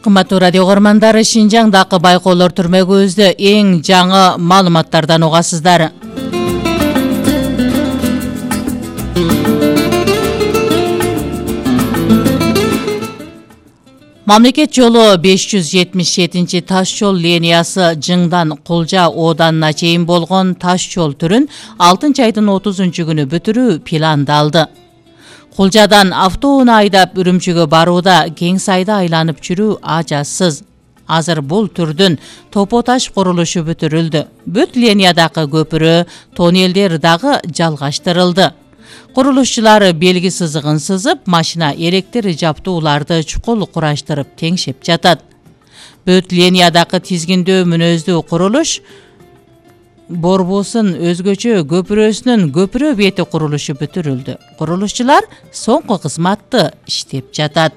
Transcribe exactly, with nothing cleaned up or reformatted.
Кымбаттуу радио көрмандары, Шинжаңдагы байкоолор түрмөгүбүздө эң жаңы маалыматтардан угасыздар. Мамлекет жолу беш жүз жетимиш жетинчи таш жол линиясы Жыңдан Кулжа ооданына чейин болгон таш жол түрүн алтынчы айдын отузунчу күнү бүтүрүү пландалды. Кулжадан автоунаа айдап Үрүмчүгө барууда кең сайда айланып жүрүү ажасыз. Азыр бул түрдүн Топо таш курулушу бүтүрүлдү. Бүт линиядагы көпүрө, тоннелдер дагы жалгаштырылды. Курулушчулар белги сызыгын сызып, машина электр жаптууларды чукул кураштырып теңшеп жатат. Бүт линиядагы тизгиндөө мүнөздүү курулуш борбосун өзгөчө көпүрөсүнүн көпүрө бети курулушу бүтүрүлдү. Курулушчулар соңку кызматты иштеп жатат.